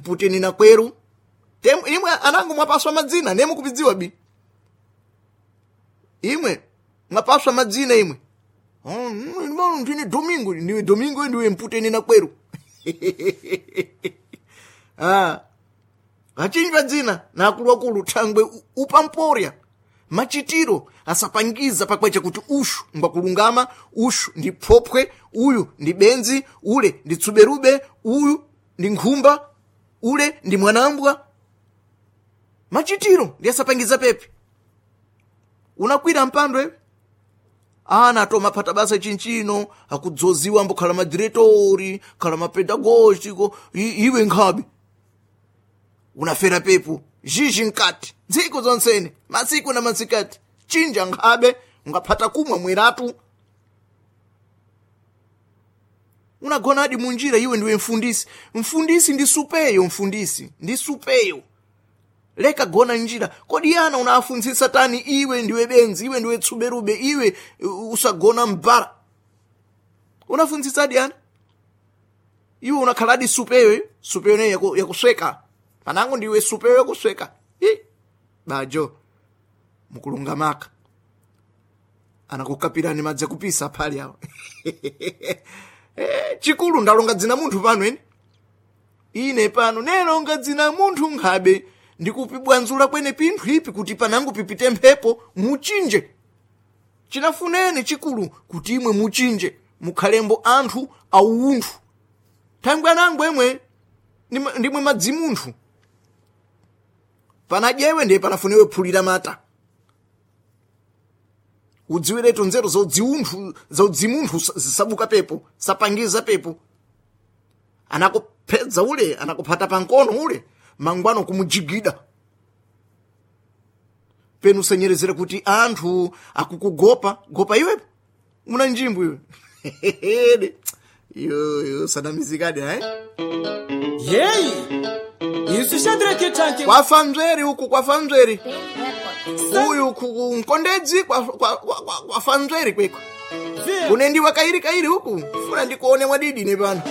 Mputeni na kweru. Temu imwe anangu mwapaswa madzina nemu kupidziwa bi. Imwe mwapaswa madzina imwe. Oh, ndine Domingo, ndiwe Domingo ndiwe mputeni na kweru. Ah. Achinjwa dzina na akuluakulu thangwe upamporya machitiro asapangiza pakwecha kuti ushu ngwakulungama, ushu ndi phopwe, uyu ndi benzi, ule ndi tsuberube, uyu ndi nkhumba, ule ndi mwanambwa. Machitiro ndi asapangiza pepe. Unakwira mpando ewe ana atomaphata basa chinchino akudzoziwa ambokhala madiretori, khala mapedagogiko, iwe nkhabe unafera pepo zhizhi nkati ntsiku zonsene masiku na masikati chinja nkhabe ungaphata kumwa mweratu. Unagonadi munjira iwe ndiwe mfundisi, mfundisi ndi supeyo, mfundisi ndi supeyo, leka gona njira. Kodi ana unafunzisa tani? Iwe ndiwe benzi, iwe ndiwe tsuberube, iwe usagona mbara. Unafunzisadi ana iwe unakhaladi supeyo, supeyo ne yakusweka panango ndiwe supeyo yakusweka. I bajo mukulungamaka anakukapirani madzi akupisa phali awo. Chikulu ndalonga dzina munthu pano ene ine pano nelonga dzina munthu nkhabe ndikupibwanzula kwene pinthu ipi kuti panango pipite mphepo muchinje. Chinafunene chikulu kuti imwe muchinje mukhalembo anthu aunthu thangwe anango emwe ndimwe madzimunthu panadyewe ndiye panafunewe phulira mata udziwiretu nzeru zaudziunthu zaudzimunthu zisabuka pepo sapangiza pepo. Anakuphedza ule anakuphata pankono ule mangwano kumujigida penu usenyerezera kuti anthu akukugopa gopa iwepo muna njimbo iwe. Yo sanamizikadi eh? Yeyi isu Shadrake chanke kwafa mzeri uku kwafa mzeri uyu ku mkondedzi kwafa mzeri kweko kunendiwa kairi kairi uku funa ndikuone mwadidi ne pano.